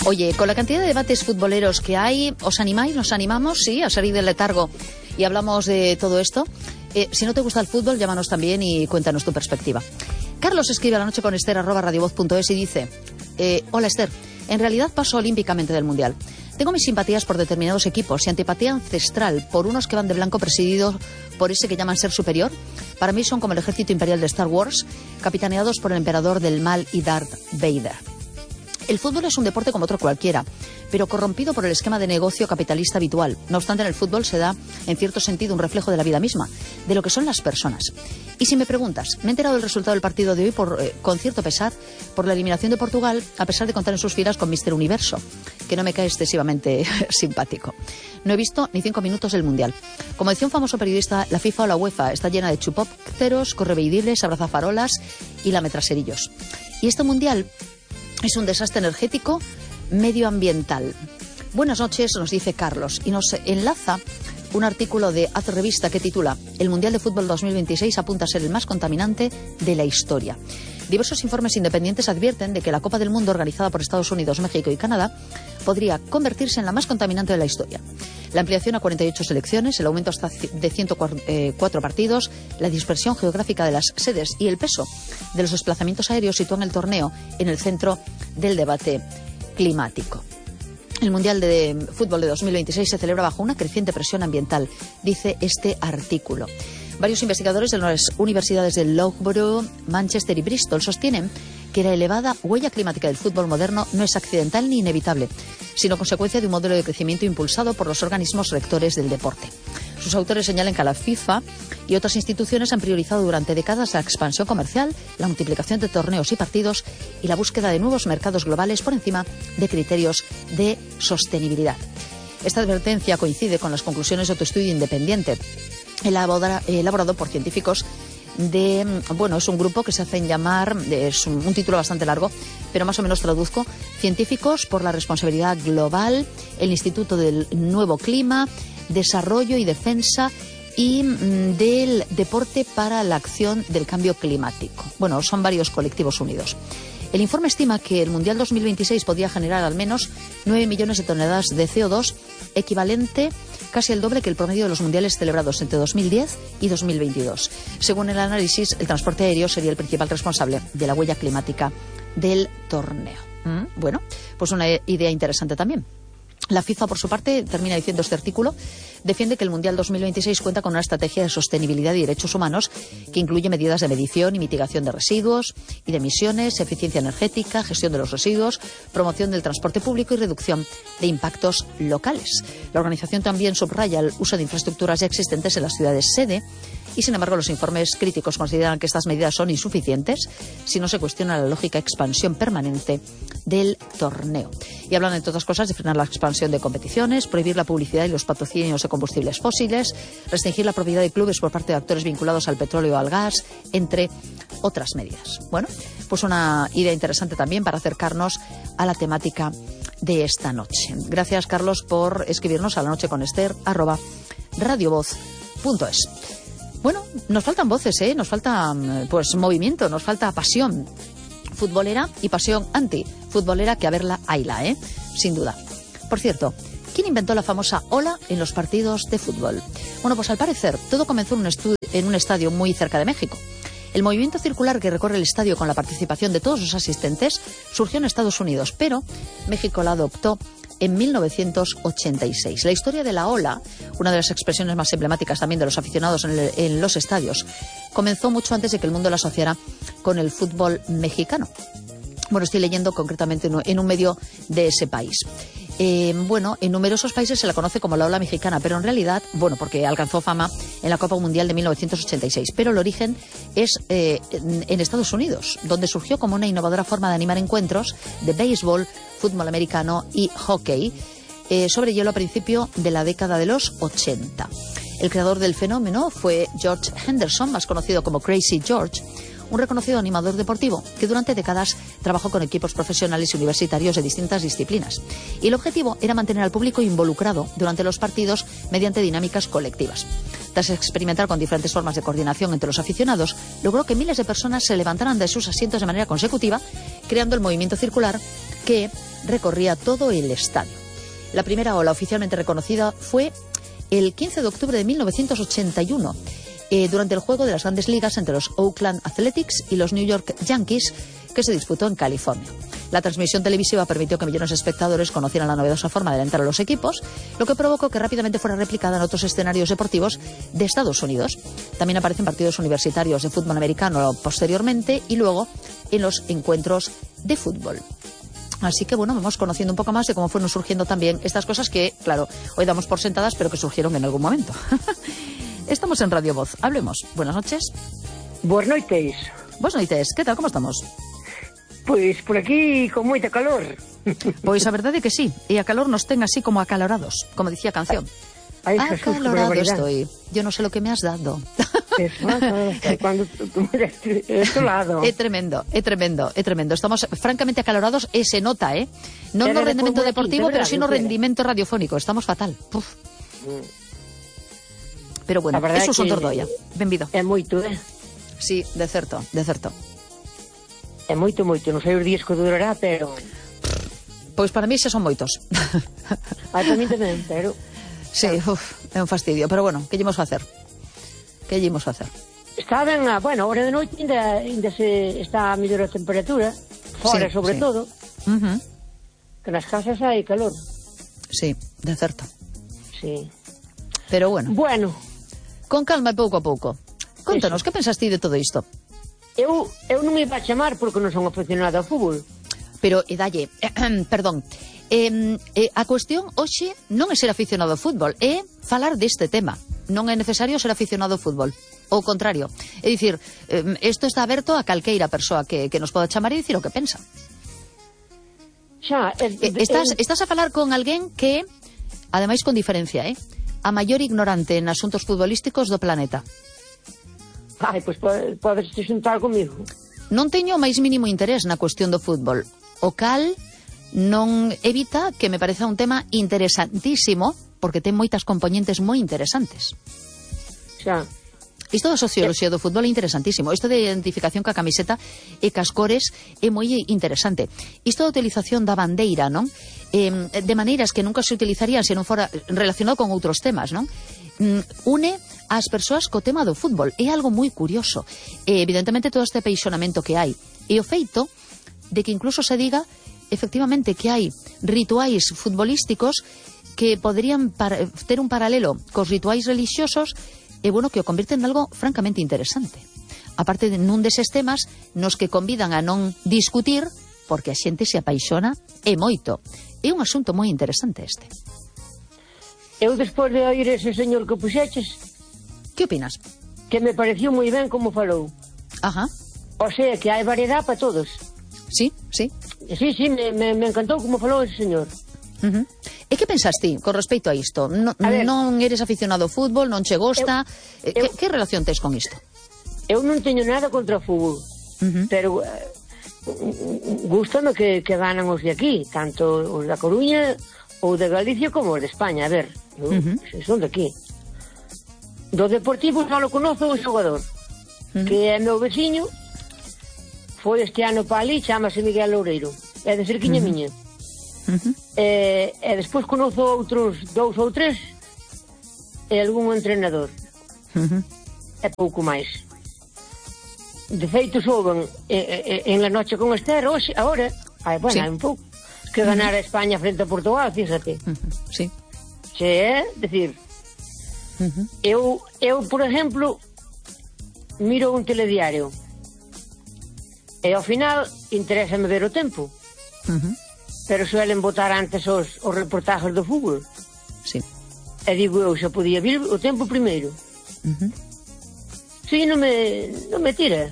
Oye, con la cantidad de debates futboleros que hay, ¿os animáis, nos animamos, sí, a salir del letargo y hablamos de todo esto? Si no te gusta el fútbol, llámanos también y cuéntanos tu perspectiva. Carlos escribe a la noche con Esther @radiovoz.es y dice: hola Esther, en realidad paso olímpicamente del Mundial. Tengo mis simpatías por determinados equipos y antipatía ancestral por unos que van de blanco presididos por ese que llaman ser superior. Para mí son como el ejército imperial de Star Wars, capitaneados por el emperador del mal y Darth Vader. El fútbol es un deporte como otro cualquiera, pero corrompido por el esquema de negocio capitalista habitual. No obstante, en el fútbol se da, en cierto sentido, un reflejo de la vida misma, de lo que son las personas. Y si me preguntas, me he enterado del resultado del partido de hoy con cierto pesar por la eliminación de Portugal, a pesar de contar en sus filas con Mr. Universo, que no me cae excesivamente simpático. No he visto ni 5 minutos del Mundial. Como decía un famoso periodista, la FIFA o la UEFA está llena de chupópteros, correveidibles, abrazafarolas y lametraserillos. Y este Mundial es un desastre energético medioambiental. Buenas noches, nos dice Carlos, y nos enlaza un artículo de Haz Revista que titula El Mundial de Fútbol 2026 apunta a ser el más contaminante de la historia. Diversos informes independientes advierten de que la Copa del Mundo organizada por Estados Unidos, México y Canadá podría convertirse en la más contaminante de la historia. La ampliación a 48 selecciones, el aumento hasta de 104 partidos, la dispersión geográfica de las sedes y el peso de los desplazamientos aéreos sitúan el torneo en el centro del debate climático. El Mundial de Fútbol de 2026 se celebra bajo una creciente presión ambiental, dice este artículo. Varios investigadores de las universidades de Loughborough, Manchester y Bristol sostienen que la elevada huella climática del fútbol moderno no es accidental ni inevitable, sino consecuencia de un modelo de crecimiento impulsado por los organismos rectores del deporte. Sus autores señalan que la FIFA y otras instituciones han priorizado durante décadas la expansión comercial, la multiplicación de torneos y partidos y la búsqueda de nuevos mercados globales por encima de criterios de sostenibilidad. Esta advertencia coincide con las conclusiones de otro estudio independiente elaborado por científicos es un grupo que se hacen llamar, es un título bastante largo, pero más o menos traduzco: Científicos por la Responsabilidad Global, el Instituto del Nuevo Clima, Desarrollo y Defensa y del Deporte para la Acción del Cambio Climático. Bueno, son varios colectivos unidos. El informe estima que el Mundial 2026 podría generar al menos 9 millones de toneladas de CO2, equivalente casi el doble que el promedio de los mundiales celebrados entre 2010 y 2022. Según el análisis, el transporte aéreo sería el principal responsable de la huella climática del torneo. Bueno, pues una idea interesante también. La FIFA, por su parte, termina diciendo este artículo, defiende que el Mundial 2026 cuenta con una estrategia de sostenibilidad y derechos humanos que incluye medidas de medición y mitigación de residuos y de emisiones, eficiencia energética, gestión de los residuos, promoción del transporte público y reducción de impactos locales. La organización también subraya el uso de infraestructuras ya existentes en las ciudades sede y, sin embargo, los informes críticos consideran que estas medidas son insuficientes si no se cuestiona la lógica expansión permanente del torneo. Y hablan, entre otras cosas, de frenar la expansión de competiciones, prohibir la publicidad y los patrocinios de combustibles fósiles, restringir la propiedad de clubes por parte de actores vinculados al petróleo o al gas, entre otras medidas. Bueno, pues una idea interesante también para acercarnos a la temática de esta noche. Gracias, Carlos, por escribirnos a la noche con Esther @radiovoz.es. Bueno, nos faltan voces, nos falta movimiento, nos falta pasión futbolera y pasión antifutbolera, que a verla hayla, sin duda. Por cierto, ¿quién inventó la famosa ola en los partidos de fútbol? Bueno, pues al parecer todo comenzó en un estadio muy cerca de México. El movimiento circular que recorre el estadio con la participación de todos los asistentes surgió en Estados Unidos, pero México la adoptó en 1986. La historia de la ola, una de las expresiones más emblemáticas también de los aficionados en los estadios, comenzó mucho antes de que el mundo la asociara con el fútbol mexicano. Bueno, estoy leyendo concretamente en un medio de ese país. En numerosos países se la conoce como la ola mexicana, pero en realidad, porque alcanzó fama en la Copa Mundial de 1986, pero el origen es en Estados Unidos, donde surgió como una innovadora forma de animar encuentros de béisbol, fútbol americano y hockey sobre hielo a principio de la década de los 80. El creador del fenómeno fue George Henderson, más conocido como Crazy George, un reconocido animador deportivo que durante décadas trabajó con equipos profesionales y universitarios de distintas disciplinas. Y el objetivo era mantener al público involucrado durante los partidos mediante dinámicas colectivas. Tras experimentar con diferentes formas de coordinación entre los aficionados, logró que miles de personas se levantaran de sus asientos de manera consecutiva, creando el movimiento circular que recorría todo el estadio. La primera ola oficialmente reconocida fue el 15 de octubre de 1981, durante el juego de las grandes ligas entre los Oakland Athletics y los New York Yankees, que se disputó en California. La transmisión televisiva permitió que millones de espectadores conocieran la novedosa forma de alentar a los equipos, lo que provocó que rápidamente fuera replicada en otros escenarios deportivos de Estados Unidos. También aparecen partidos universitarios de fútbol americano posteriormente y luego en los encuentros de fútbol. Así que bueno, vamos conociendo un poco más de cómo fueron surgiendo también estas cosas que, claro, hoy damos por sentadas, pero que surgieron en algún momento. Estamos en Radio Voz. Hablemos. Buenas noches. Buenas noites. Buenas noites. ¿Qué tal? ¿Cómo estamos? Pois por aquí con moita calor. Pois a verdade é que sí, e a calor nos ten así como acalorados, como dicía a canción. Ay, Jesús, acalorado estoy, yo no sé lo que me has dado. Cuando tú me das este lado. É tremendo. Estamos francamente acalorados e se nota, non no rendimento deportivo, pero sí no rendimento radiofónico. Estamos fatal. Puf. Pero bueno, eso son Dordoia. Benvido. É moito, Sí, de certo. É moito, non sei os días que durará, pero... Pois para mí xa son moitos. Para mí tamén, pero... Sí, é un fastidio, pero bueno, que llemos facer? Está ben, bueno, a hora de noite ainda se está a mellor a temperatura, fora sí, sobre todo, que nas casas hai calor. Sí, de certo. Sí. Pero bueno. Bueno. Con calma e pouco a pouco. Contanos, que pensas ti de todo isto? Eu non me iba a chamar porque non son aficionada ao fútbol. Pero, dalle, perdón, a cuestión hoxe non é ser aficionado ao fútbol, é falar deste tema. Non é necesario ser aficionado ao fútbol. Ao contrario. É dicir, isto está aberto a calqueira persoa que nos poda chamar e dicir o que pensa. Xa, estás a falar con alguén que, ademais con diferencia, a maior ignorante en asuntos futbolísticos do planeta. Ai, pois podes te xuntar comigo. Non teño o máis mínimo interés na cuestión do fútbol, o cal non evita que me pareza un tema interesantísimo, porque ten moitas componentes moi interesantes. Xa. Isto da socioloxía do fútbol é interesantísimo. Isto de identificación ca camiseta e cas cores é moi interesante. Isto da utilización da bandeira, non? De maneiras que nunca se utilizarían se non fora relacionado con outros temas, non? Une as persoas co tema do fútbol. É algo moi curioso. Evidentemente todo este apeixonamento que hai. E o feito de que incluso se diga efectivamente que hai rituais futbolísticos que poderían ter un paralelo cos rituais religiosos e, bueno, que o convirten en algo francamente interesante. Aparte de nun deses temas nos que convidan a non discutir porque a xente se apaixona e moito. É un asunto moi interesante este. Eu, despois de oír ese señor que puxeches... Que opinas? Que me pareció moi ben como falou. Ajá. O sea, que hai variedade para todos. Sí. Sí, me encantou como falou ese señor. E que pensas ti con respecto a isto? Non eres aficionado ao fútbol, non che gosta... Que relación tes con isto? Eu non teño nada contra o fútbol, pero gústame que ganan os de aquí, tanto os da Coruña ou de Galicia como os de España. A ver, son de aquí. Do Deportivo só lo conozo un xogador, que é meu veciño, foi este ano para ali, chamase Miguel Loureiro, é de cerquiña miña. E despois conozo outros 2 ou 3 e algún entrenador. É pouco máis. De feito, souben en la noche con Esther, hoxe, agora, hai un pouco, que ganar a España frente a Portugal, fíjate. Sí. Se é, decir, eu, por exemplo, miro un telediario e ao final interésame ver o tempo. Pero suelen votar antes os reportajes do fútbol. Sí. E digo eu, xa podía vir o tempo primeiro. Sí, non me tira.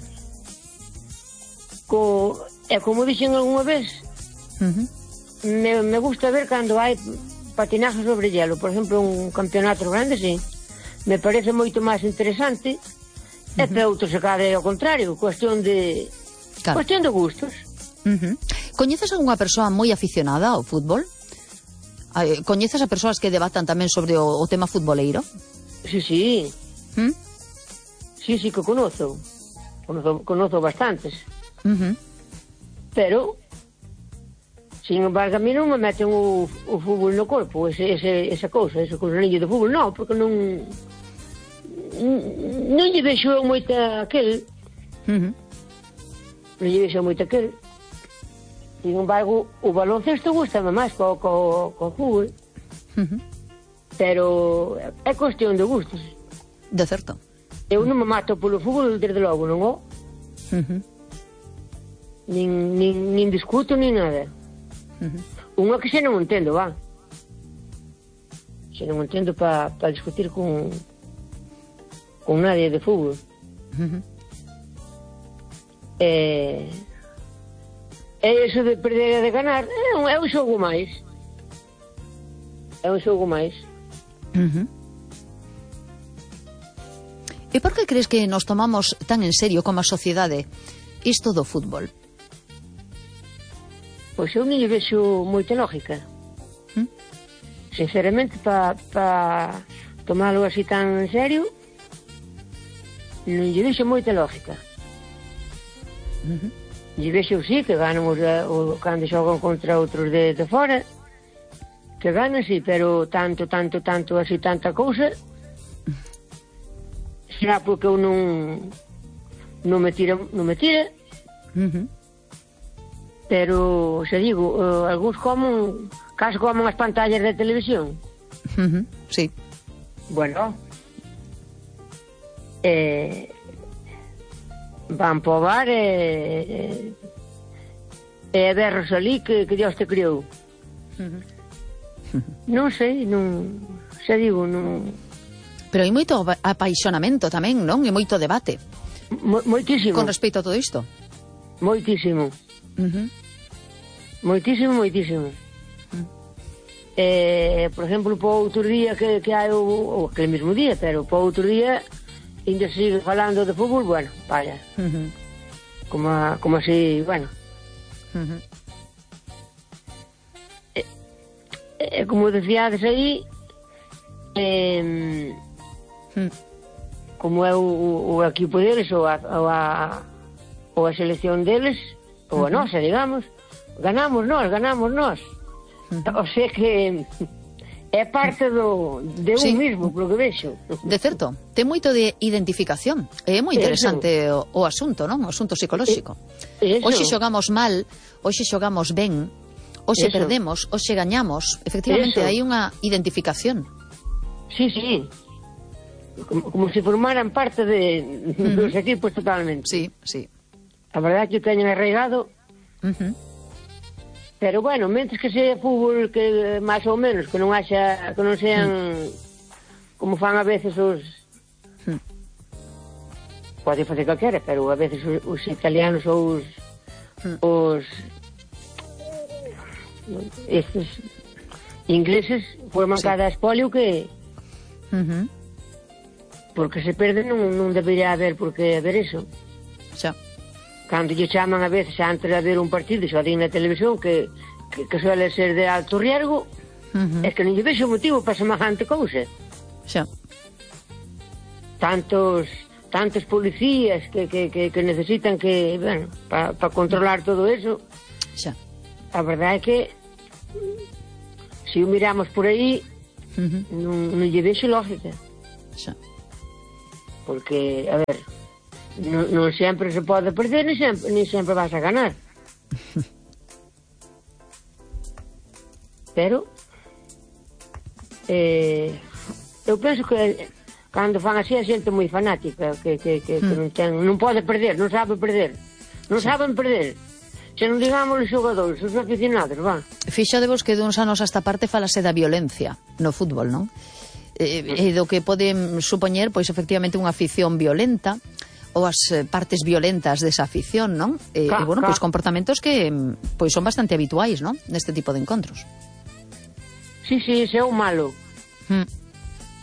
E como dixen algunha vez, me gusta ver cando hai patinaje sobre hielo. Por exemplo, un campeonato grande, sí. Me parece moito máis interesante. E para outros se cade ao contrario. Cuestión de gustos. Coñeces algunha persoa moi aficionada ao fútbol? Coñeces a persoas que debatan tamén sobre o tema futboleiro? Sí. Sí, que conozo bastantes. Pero Sin embargo, a mí non me meten o fútbol no corpo, esa cousa niño de fútbol, non, porque non lle vexo moita aquel. Non lle vexo moita aquel. Sin embargo, o baloncesto gustame máis co fútbol. Pero é cuestión de gustos. De certo. Eu non me mato polo fútbol, desde logo, non o? Nin discuto, nin nada. Unha que xe non entendo, va. Xe non entendo para discutir con nadie de fútbol. E iso de perder e de ganar é un xogo máis. É un xogo máis. E por que crees que nos tomamos tan en serio como a sociedade isto do fútbol? Pois eu non lle vexo moita lógica. Sinceramente, para tomalo así tan en serio, non lle vexo moita lógica. Lle vexo, sí, que ganan cando xogan contra outros de fora, que ganan, sí, pero tanto, así, tanta cousa, será porque eu non me tira, pero, xa digo, algúns caso comen as pantallas de televisión. Sí. Bueno, van para o bar e berros ali que Dios te criou. Non sei, xa digo, non... Pero hai moito apaixonamento tamén, non? E moito debate. Moitísimo. Con respecto a todo isto. Moitísimo. Moitísimo. Por exemplo, para outro día que hai ou aquele mesmo día, pero para outro día ainda se sigue falando de fútbol, bueno, vaya. Como así, bueno. Como decíades aí, como é o equipo deles ou a selección deles, ou a nosa, digamos, ganamos nós. O sea que é parte de un mismo, polo que vexo. De certo, ten moito de identificación. É moi interesante o asunto, non? O asunto psicolóxico. Hoxe xogamos mal, hoxe xogamos ben, hoxe perdemos, hoxe gañamos. Efectivamente, hai unha identificación. Sí. Como se formaran parte dos equipos totalmente. Sí. A verdade é que o teñen arraigado. Pero bueno, mentres que sea fútbol que máis ou menos, que non sean como fan a veces os pode facer calquera, pero a veces os italianos ou os estes ingleses forman cada espolio que porque se perde non debería haber por que haber eso. Xa. Cando lle chaman a veces antes de haber un partido, xa din na televisión que suele ser de alto riesgo, é que non lle vexo motivo para semejante cousa. Xa. Tantos policías que necesitan que, bueno, para controlar todo eso. Xa. A verdade é que se o miramos por aí non lle vexo lógica. Xa. Porque, a ver, non sempre se pode perder, ni sempre vas a ganar. Pero eu penso que cando fan así a xente moi fanática que non pode perder, non sabe perder, non saben perder. Se non digamos os xogadores, os aficionados, va. Fixadevos que duns anos a esta parte falase da violencia no fútbol, non? E do que poden supoñer, pois, efectivamente, unha afición violenta ou as partes violentas desa afición, non? E, bueno, pois comportamentos que pois son bastante habituais, non? Neste tipo de encontros. Sí, ese é o malo.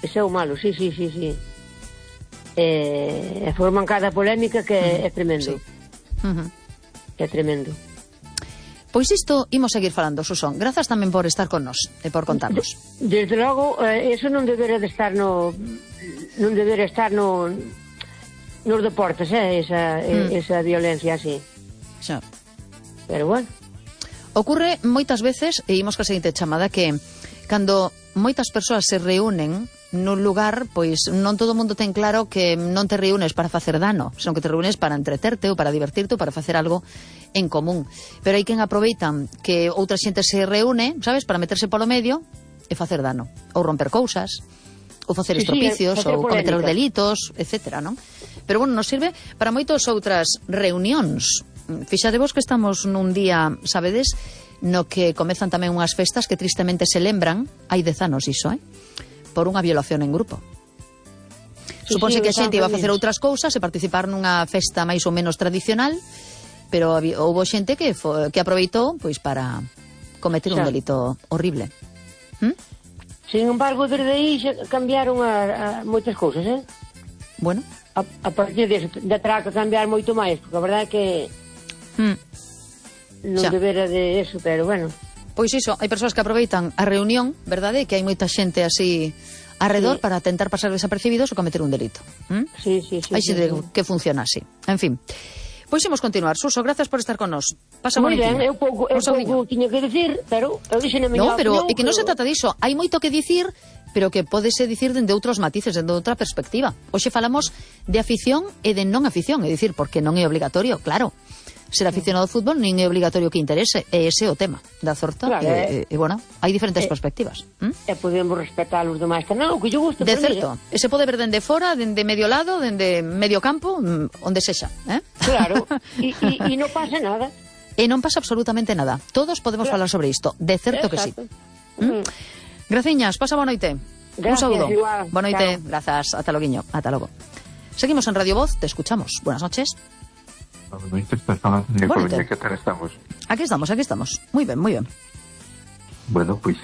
Ese é o malo, sí. E forman cada polémica que é tremendo. É tremendo. Pois isto imos seguir falando, Susón. Grazas tamén por estar con nós e por contarnos. Desde logo, eso non debería de estar nos deportes, esa violencia así. Xa. Pero bueno. Ocurre moitas veces, e imos ca seguinte chamada, que cando moitas persoas se reúnen nun lugar, pois non todo o mundo ten claro que non te reúnes para facer dano, senón que te reúnes para entreterte ou para divertirte ou para facer algo en común. Pero hai quen aproveitan que outra xente se reúne, sabes, para meterse polo medio e facer dano, ou romper cousas, ou facer estropicios, ou cometer delitos, etcétera, non? Pero bueno, nos sirve para moitas outras reunións. Fixadevos que estamos nun día, sabedes, no que comezan tamén unhas festas que tristemente se lembran, hai 10 anos iso, por unha violación en grupo. Supónse que a xente iba a facer outras cousas e participar nunha festa máis ou menos tradicional, pero houve xente que aproveitou pois para cometer un delito horrible. Sin embargo, desde aí cambiaron a moitas cousas, Bueno. A partir de terá que cambiar moito máis, porque a verdade é que non debera de eso, pero bueno. Pois iso, hai persoas que aproveitan a reunión, verdade, que hai moita xente así arredor para tentar pasar desapercibidos ou cometer un delito. Sí. Hai xente que funciona así. En fin. Pois imos continuar. Suso, gracias por estar con nos. Pasa moi bonitinho. Ben, eu pouco tiña que dicir, pero eu dixen a miña opinión. No, pero é que non se trata diso. Hai moito que dicir, pero que pódese dicir dende outros matices, dende outra perspectiva. Hoxe falamos de afición e de non afición, é dicir, porque non é obligatorio, claro. Ser aficionado ao fútbol non é obligatorio que interese, e ese é o tema da Zorta, claro, e bueno, hai diferentes perspectivas. E podemos respetar os demais canal, o que yo gusto. De certo, e se pode ver dende fora, dende medio lado, dende medio campo, onde sexa, Claro, e non pasa nada. E non pasa absolutamente nada. Todos podemos falar sobre isto, de certo que sí. Graciñas, pasa boa noite. Un saúdo. Boa noite, grazas, ata loguiño, ata logo. Seguimos en Radio Voz, te escuchamos. Buenas noches. ¿Qué tal estamos? Aquí estamos. Muy bien. Bueno, pois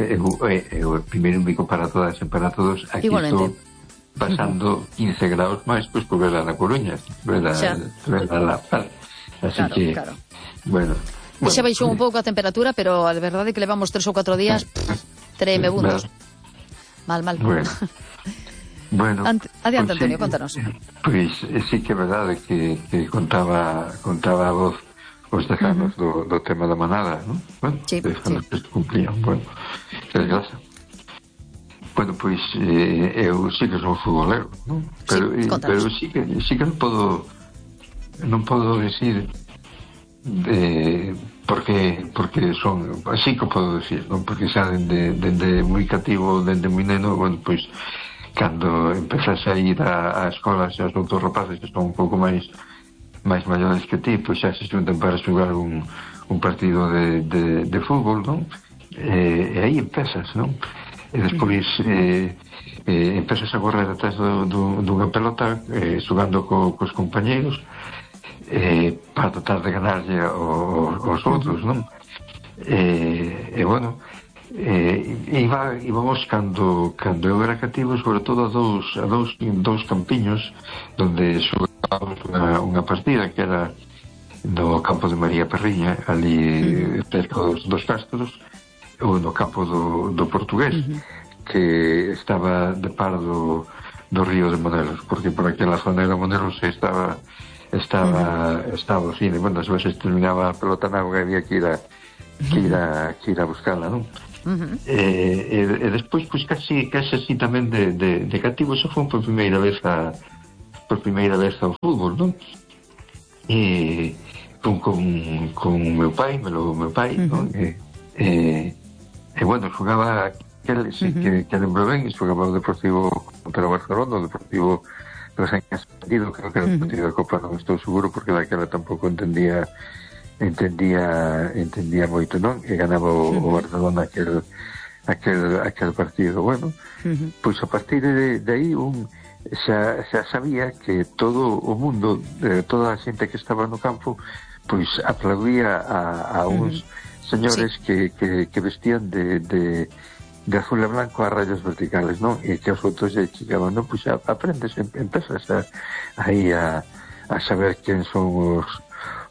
primeiro un bico para todas e para todos. Aquí estou pasando 15 graus máis, pois por verla na Coruña, verla na Paz. Así que, bueno. Xa baixou un pouco a temperatura, pero a verdade é que levamos 3 ou 4 días tremebundos. Mal. Bueno, adiante, Antonio, contanos. Pois sí que é verdade que contaba a voz os dejanos do tema da manada, non? Bueno, dejanos que cumplían, bueno, desgraza. Bueno, pois eu sí que son futbolero, non? Pero sí que non podo decir porque son, así que podo decir, non? Porque xa dende moi cativo, dende moi neno, bueno, pois cando empezas a ir a escolas e os outros rapaces que son un pouco máis maiores que ti, pois xa se xuntan para xogar un partido de fútbol, non? E aí empezas, non? E despois empezas a correr atrás dunha pelota xogando cos compañeiros para tratar de ganarlle aos outros, non? E bueno, íbamos cando eu era cativo, sobre todo a dous campiños donde xogábamos unha partida que era no campo de María Perriña, ali cerca dos Castros, ou no campo do Portugués, que estaba de par do río de Monelos, porque por aquela zona de Monelos estaba o cine. Bueno, as veces terminaba a pelota na auga e había que ir a buscarla, non? E despois pois casi así tamén de cativo. Eso foi por primeira vez ao fútbol, non? E con meu pai, non? E bueno, xogaba que lembro ben, xogaba o Deportivo contra o Barcelona, o Deportivo recién ascendido, creo que era o partido da Copa, non estou seguro porque daquela tampouco entendía moito, non? E ganaba o Barcelona aquel partido. Bueno, pois a partir de aí xa sabía que todo o mundo, toda a xente que estaba no campo, pois aplaudía a uns señores que vestían de azul e blanco a rayos verticales, non? E que os outros lle chegaban, non? Pois aprendes, empezas aí a saber quen son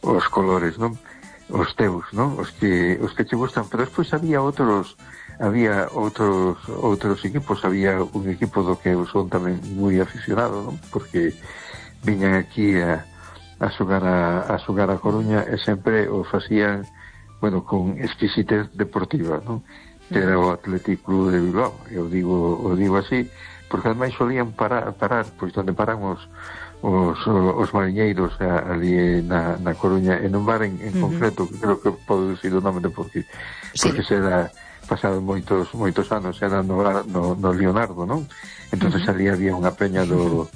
os colores, non? Os teus, non? Os que te gustan. Pero despois había outros equipos. Había un equipo do que eu son tamén moi aficionado, non? Porque viñan aquí a xogar a Coruña e sempre o facían bueno, con exquisitez deportiva, non? Que era o Athletic Club de Bilbao. Eu digo así, porque ademais solían parar pois onde paran os mariñeiros ali na Coruña, en un bar en concreto, que creo que podo dicir o nome de porque será pasado moitos anos, era no Leonardo, non? Entonces ali había unha peña do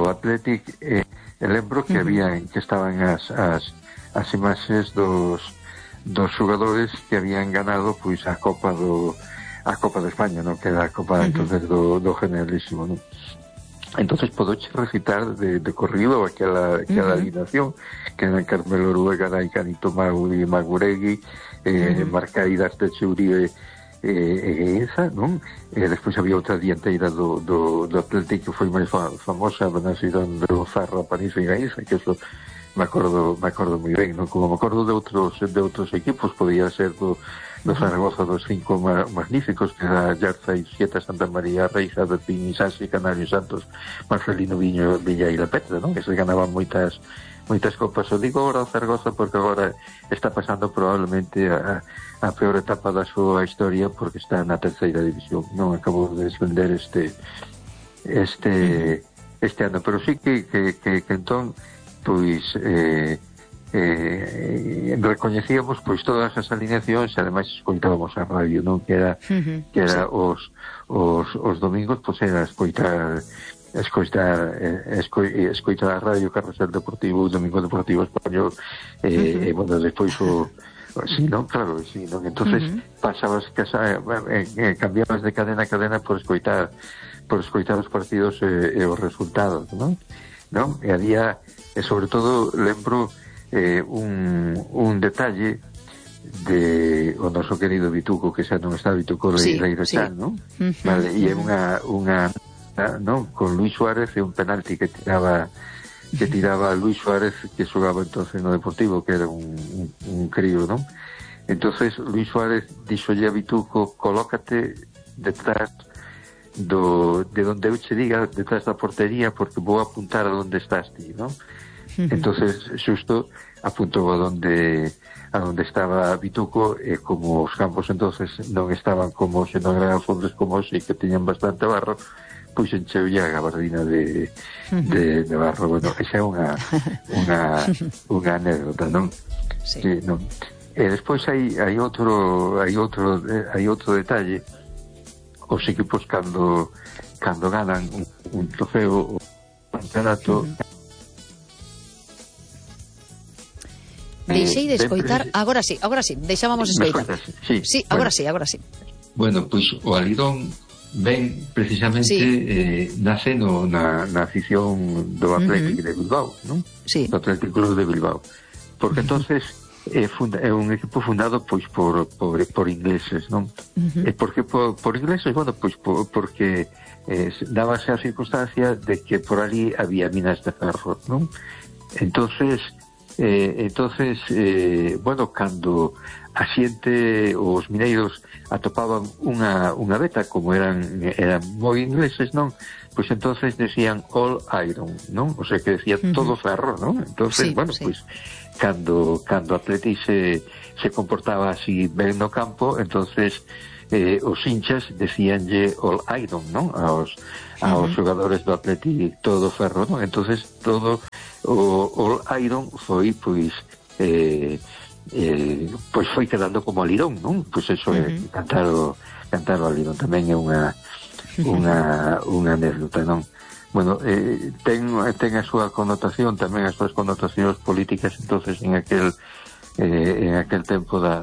Athletic, e lembro que que estaban as imaxes dos xogadores que habían ganado pois a Copa de España, non? Que era a Copa entonces do Generalísimo, non? Entonces podoche recitar de corrido aquela alineación que era Carmelo Oruega, Canito Maguregui, Marcaidas de Uribe e Gueiza, non? Despois había outra dianteira do Atlético que foi máis famosa, a nación do Zarra, Panizo e Gueiza, que eso me acordo moi ben, non? Como me acordo de outros equipos, podía ser do Zaragoza, dos 5 magníficos, que era Yarza e Sieta, Santa María, Reixa, Bertín, Isasi, Canario, Santos, Marcelino, Villa e La Petra, non? Esos ganaban moitas copas. O digo agora o Zaragoza porque agora está pasando probablemente a peor etapa da súa historia, porque está na terceira división, non? Acabou de descender este ano, pero sí que entón pois recoñecíamos pois todas as alineacións e ademais escoitábamos a radio, non? Que era os domingos pois era escoitar a radio Carrusel Deportivo, o Domingo Deportivo Español, e bueno, despois sí, non? Claro, sí, non? Entonces pasabas cambiabas de cadena a cadena por escoitar os partidos e os resultados, non? E había, sobre todo, lembro un detalle de o noso querido Bituco, que xa non está Bituco Leirexán, non? Vale, e é unha non? Con Luis Suárez e un penalti que tiraba Luis Suárez, que xogaba entonces no Deportivo, que era un crío, non? Entonces Luis Suárez dixolle a Bituco: colócate detrás de donde eu che diga, detrás da portería, porque vou apuntar a donde estás ti, non? Entonces xusto apuntou a donde estaba Bituco, e como os campos entonces non estaban como se non eran fondos como hoxe, que teñan bastante barro, pois encheulle a gabardina de barro. Bueno, esa é unha anécdota, non? Sí, non. E despois hai outro detalle. Os equipos cando ganan un trofeo, un campeonato, deixei de escoitar, agora sí, deixábamos escoitar. Sí, agora sí. Bueno, pois o alidón ben precisamente nace na afición do Atlético de Bilbao, non? Sí. Do Atlético Club de Bilbao. Porque entonces é un equipo fundado pois por ingleses, non? E por que por ingleses? Bueno, pois porque dábase a circunstancia de que por ali había minas de ferro, non? Entonces bueno, cando a xente, os mineiros atopaban unha beta, como eran moi ingleses, non? Pois entonces decían all iron, non? O sea, que decía todo ferro, non? Entonces, bueno, pois cando Atleti se comportaba así ben no campo, entonces os hinchas decíanlle all iron, non? Aos xogadores do Atleti todo ferro, non? Entonces todo o all iron foi pois foi quedando como alidón, non? Pois eso é cantar o alidón tamén é unha anécdota, non? Bueno, ten a súa connotación, tamén as súas connotacións políticas. Entonces en aquel tempo da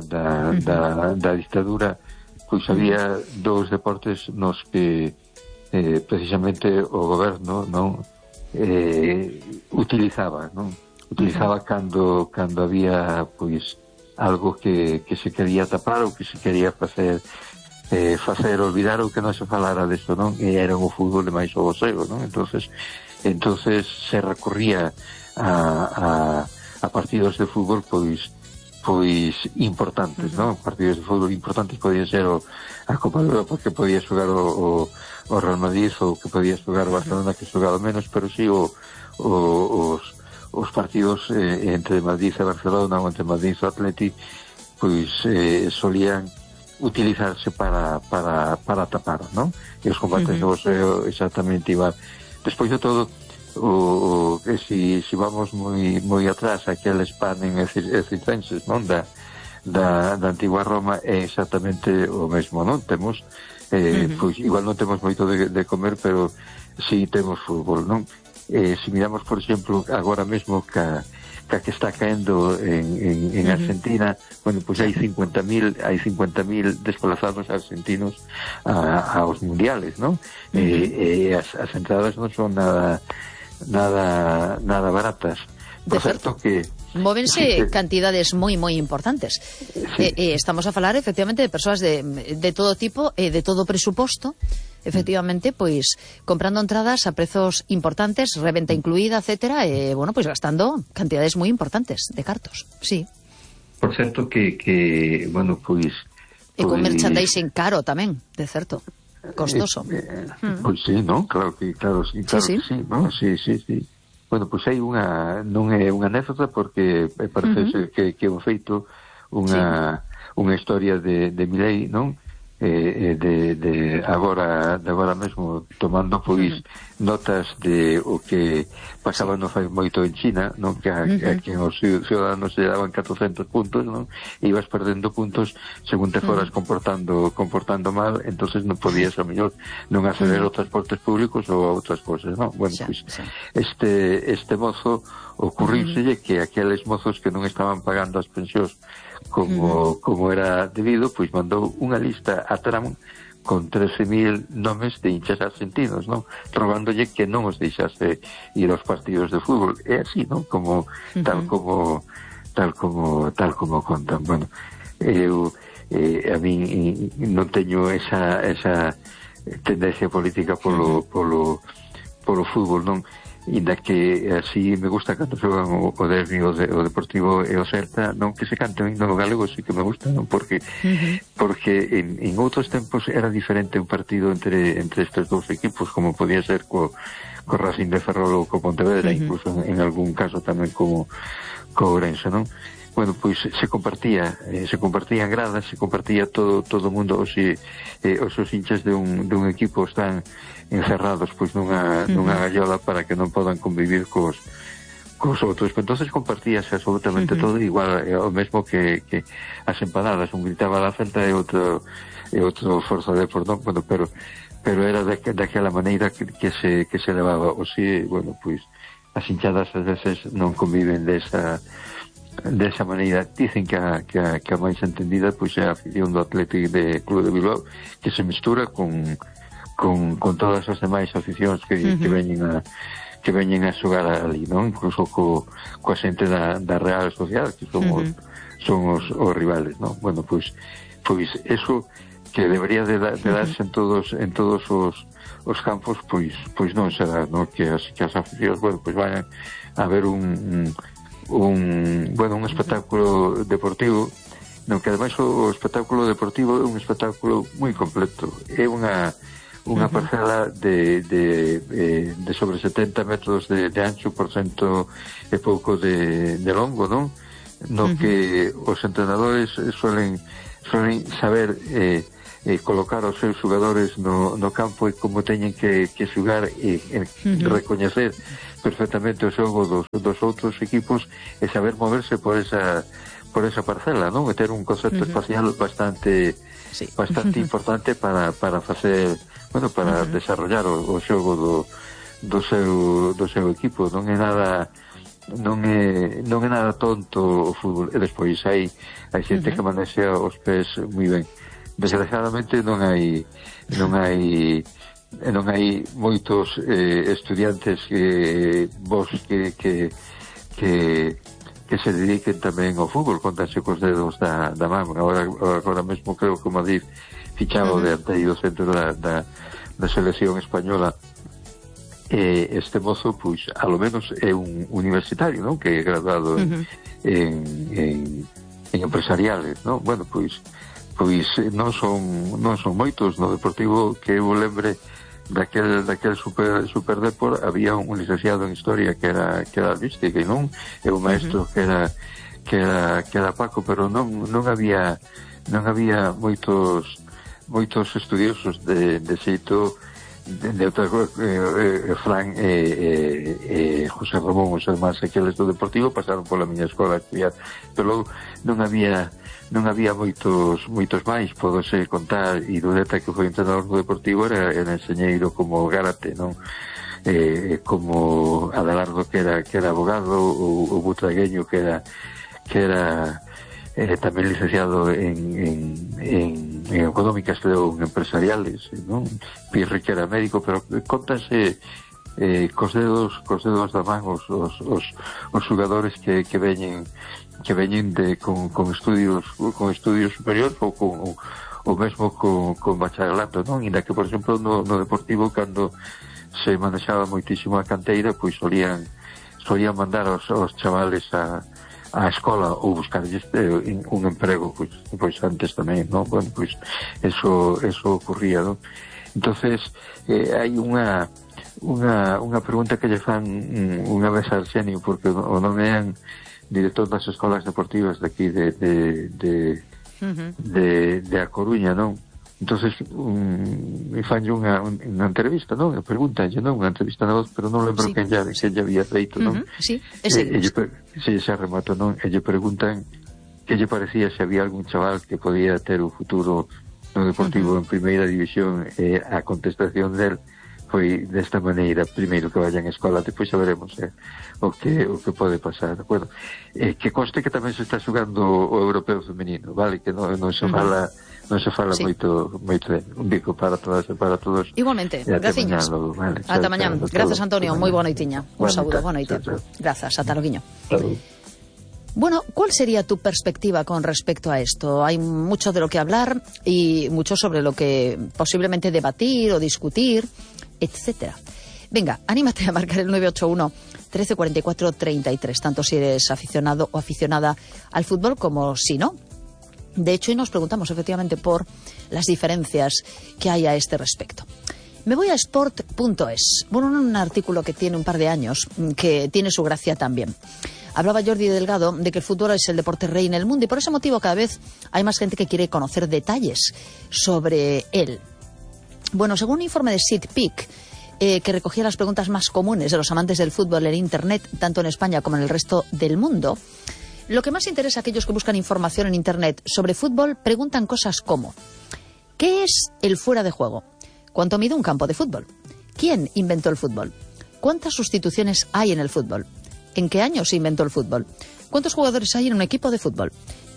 dictadura, pois había dous deportes nos que precisamente o goberno, non, utilizaba cando había pois algo que se quería tapar ou que se quería facer olvidar ou que non se falara desto, non? E era o fútbol de máis o boxeo, non? Entonces se recorría a partidos de fútbol pois importantes, non? Partidos de fútbol importantes podían ser a Copa de Europa, que podía xogar o Real Madrid, ou que podía xogar o Barcelona, que xogaba menos, pero sí os partidos entre Madrid e Barcelona, ou entre Madrid e Atleti, pois solían utilizarse para tapar, non? E os combates de boxeo exactamente igual. Despois de todo, si vamos moi atrás, aquel Spanen e circenses, non? Da antigua Roma é exactamente o mesmo, non? Temos, pois igual non temos moito de comer, pero si temos fútbol, non? Se miramos, por exemplo, agora mesmo que está caendo en Argentina, bueno, pois hai 50.000 desplazados argentinos aos mundiales, non? As entradas non son nada baratas. Por certo que móvense cantidades moi importantes. Estamos a falar efectivamente de persoas de todo tipo e de todo presuposto, efectivamente, pois comprando entradas a prezos importantes, reventa incluída, etcétera, e bueno, pois gastando cantidades moi importantes de cartos. Sí. Por certo que bueno, pois e con merchandising caro tamén, de certo. Costoso. Pois sí, non? Claro, sí, non? Sí. Bueno, pois hai non é unha anécdota, porque parece que é un feito unha historia de Milei, non? De agora mesmo, tomando pois notas de o que pasaba non fai moito en China, non? Que os ciudadanos se daban 400 puntos, non? E ibas perdendo puntos según te foras comportando mal, entonces non podías a mellor non acceder aos transportes públicos ou a outras cosas, non? Bueno, pois este mozo ocurrírselle que aqueles mozos que non estaban pagando as pensións como era debido, pois mandou unha lista a Trump con 13.000 nomes de hinchas argentinos, non? Rogándolle que non os deixase ir aos partidos de fútbol. É así, non? Como tal como contan. Bueno, eu a min non teño esa tendencia política polo fútbol, non? Inda que así me gusta cando xogan o Derbi, o Deportivo e o Celta, non que se cante o himno galego, sí que me gusta, non? Porque en outros tempos era diferente un partido entre estes dous equipos, como podía ser co Racing de Ferrol ou co Pontevedra, incluso en algún caso tamén co Ourense, non? Bueno, pois se compartían gradas, se compartía todo o mundo, os hinchas de un equipo están encerrados pois nunha gallola para que non podan convivir cos outros. Entonces compartíase absolutamente todo, igual o mesmo que as empanadas, un gritaba la Celta e outro Forza Depor, non? Bueno, pero era daquela maneira que se levaba. O si, bueno, pois as hinchadas ás veces non conviven desa maneira. Dicen que a máis entendida pois é a afición do Atlético de Club de Bilbao, que se mistura con todas as demais aficións que veñen a xogar ali, non? Incluso coa xente da Real Sociedad, que son os rivales, non? Bueno, pois eso que debería de darse en todos os campos, pois non será, non? Que as aficións, bueno, pois vayan a ver un espectáculo deportivo, non? Que ademais o espectáculo deportivo é un espectáculo moi completo. É unha parcela de sobre 70 metros de ancho por cento e pouco de longo, non? No que os entrenadores suelen saber colocar os seus xogadores no campo e como teñen que xogar e recoñecer perfectamente o xogo dos outros equipos e saber moverse por esa parcela, non? E ter un concepto espacial bastante importante para facer, bueno, para desarrollar o xogo do seu equipo. Non é nada tonto o fútbol. E despois hai xente que manexa os pés moi ben. Desgraciadamente non hai moitos estudiantes vos que se dediquen tamén ao fútbol, contanse cos dedos da man. Agora mesmo creo que o Madrid fichaba o dianteiro centro da selección española. Este mozo, pois, a lo menos é un universitario, non? Que é graduado en empresariales, non? Bueno, pois non son moitos. No Deportivo, que eu lembre daquel super Depor, había un licenciado en Historia que era artística, e non? E un maestro que que era Paco, pero non había moitos estudiosos de xeito de outra Fran e José Ramón, os irmáns aqueles do Deportivo, pasaron pola miña escola a estudiar, pero non había moitos máis. Podose contar, e Dudeta, que foi entrenador do Deportivo, era enxeñeiro como Gárate, non? Como Adelardo, que era abogado, o Butragueño, que era tamén licenciado en económicas, creo, en empresariales, non? Pirri, que era médico, pero contanse cos dedos da man os xogadores que veñen con estudios superiores ou mesmo con bacharelato, non? Inda que, por exemplo, no Deportivo, cando se manexaba moitísimo a canteira, pois solían mandar aos chavales a escola ou buscarlles un emprego, pois antes tamén, non? Bueno, pois eso ocurría, non? Entonces hai unha pregunta que lle fan unha vez a Arsenio, porque o nome é director das escolas deportivas de aquí de A Coruña, non? Entonces fanlle unha entrevista, non? Pregúntanlle, non? Unha entrevista na voz, pero non lembro quen lle había feito, non? Sí, ese. Se remato, non? E lle preguntan que lle parecía se había algún chaval que podía ter un futuro no Deportivo en primeira división, e a contestación del foi desta maneira: primeiro que vayan a escola, depois xa veremos o que pode pasar, de acordo? Que conste que tamén se está xugando o europeo femenino, vale? Que non se fala sí. moito un bico para todas e para todos. Igualmente, graciñas. Vale, ata mañán. Grazas, Antonio, moi boa noitiña. Un saúdo, boa noite. Grazas, ata loguiño. Bueno, ¿cuál sería tu perspectiva con respecto a esto? Hay mucho de lo que hablar y mucho sobre lo que posiblemente debatir o discutir, etcétera. Venga, anímate a marcar el 981 1344 33, tanto si eres aficionado o aficionada al fútbol como si no. De hecho, hoy nos preguntamos efectivamente por las diferencias que hay a este respecto. Me voy a sport.es. Bueno, un artículo que tiene un par de años, que tiene su gracia también. Hablaba Jordi Delgado de que el fútbol es el deporte rey en el mundo y por ese motivo cada vez hay más gente que quiere conocer detalles sobre él. Bueno, según un informe de SeatPick, que recogía las preguntas más comunes de los amantes del fútbol en Internet, tanto en España como en el resto del mundo, lo que más interesa a aquellos que buscan información en Internet sobre fútbol preguntan cosas como: ¿qué es el fuera de juego? ¿Cuánto mide un campo de fútbol? ¿Quién inventó el fútbol? ¿Cuántas sustituciones hay en el fútbol? ¿En qué año se inventó el fútbol? ¿Cuántos jugadores hay en un equipo de fútbol?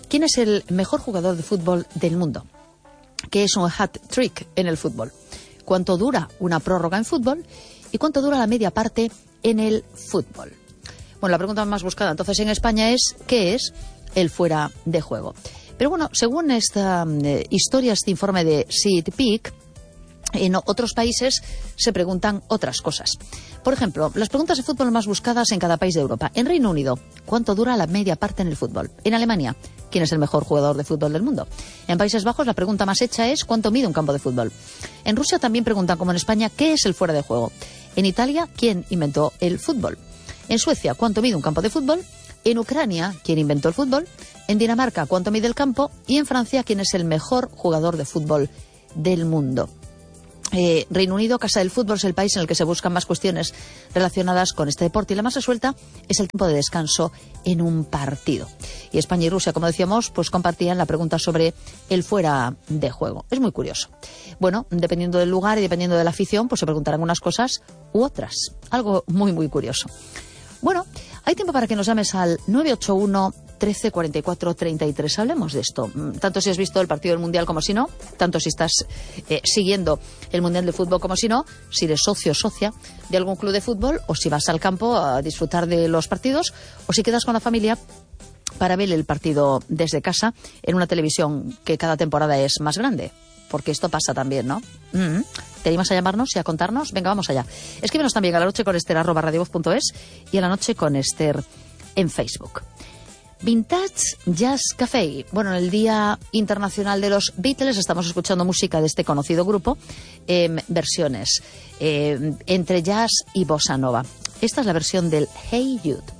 ¿Quién es el mejor jugador de fútbol del mundo? ¿Qué es un hat-trick en el fútbol? ¿Cuánto dura una prórroga en fútbol? ¿Y cuánto dura la media parte en el fútbol? Bueno, la pregunta más buscada entonces en España es: ¿qué es el fuera de juego? Pero bueno, según esta historia, este informe de SeatPick, en otros países se preguntan otras cosas. Por ejemplo, las preguntas de fútbol más buscadas en cada país de Europa. En Reino Unido, ¿cuánto dura la media parte en el fútbol? En Alemania, ¿quién es el mejor jugador de fútbol del mundo? En Países Bajos, la pregunta más hecha es: ¿cuánto mide un campo de fútbol? En Rusia también preguntan, como en España, ¿qué es el fuera de juego? En Italia, ¿quién inventó el fútbol? En Suecia, ¿cuánto mide un campo de fútbol? En Ucrania, ¿quién inventó el fútbol? En Dinamarca, ¿cuánto mide el campo? Y en Francia, ¿quién es el mejor jugador de fútbol del mundo? Reino Unido, casa del fútbol, es el país en el que se buscan más cuestiones relacionadas con este deporte, y la más resuelta es el tiempo de descanso en un partido. Y España y Rusia, como decíamos, pues compartían la pregunta sobre el fuera de juego. Es muy curioso. Bueno, dependiendo del lugar y dependiendo de la afición, pues se preguntarán unas cosas u otras. Algo muy, muy curioso. Bueno, hay tiempo para que nos llames al 981 13 44 33. Hablemos de esto. Tanto si has visto el partido del Mundial como si no, tanto si estás siguiendo el Mundial de Fútbol como si no, si eres socio o socia de algún club de fútbol, o si vas al campo a disfrutar de los partidos, o si quedas con la familia para ver el partido desde casa en una televisión que cada temporada es más grande. Porque esto pasa también, ¿no? ¿Te animas a llamarnos y a contarnos? Venga, vamos allá. Escríbenos también a la noche con Esther @radiovoz.es y a la noche con Esther en Facebook. Vintage Jazz Café. Bueno, en el Día Internacional de los Beatles estamos escuchando música de este conocido grupo en versiones entre jazz y bossa nova. Esta es la versión del Hey Jude.